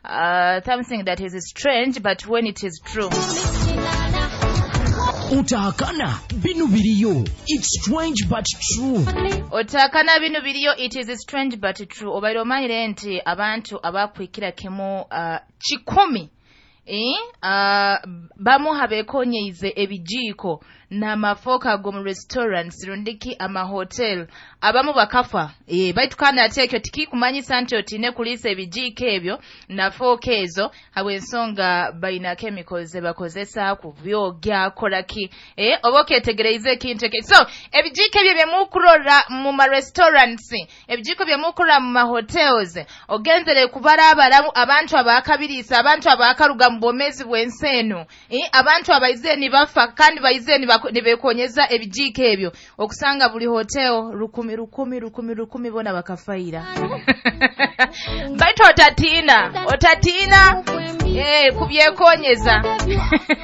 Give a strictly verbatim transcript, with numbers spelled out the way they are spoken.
uh, something that is strange, but when it is true. Otahakana binu biriyo. It's strange but true. Otakana binu biriyo, it is strange but true. Obaire omanyire nti abantu abakwikira kimu uh, kikumi, eh? uh, bamu habekonyeize ebijiiko n'amafoka ag'omu restaurants rundiki amahotel, abamu bakafa, e, baitu kandi ate ekyo tikikumanyisa nti otiine kuliisa ebijiiko ebyo na fooka ezo, habw'ensonga balina chemicals ze bakozesa kubyogya kolaki, e, oba oketegereize ekintu ekyo. So ebijiiko ebyo byemukurora mu ma restaurants, ebijiiko byemukurora mu ma hotels, ogenzere kubarabaramu abantu abakabiriisa, abantu abakaruga mu bwomeezi bw'ensi eno, e, abantu abaizire nibafa kandi baizire nibekonyeza ebijiiko ebyo, okusanga buli hotel rukumi rukumi rukumi rukumi bona bakafaira. Baitu otatiina, otatiina, eh, kubyekonyeza.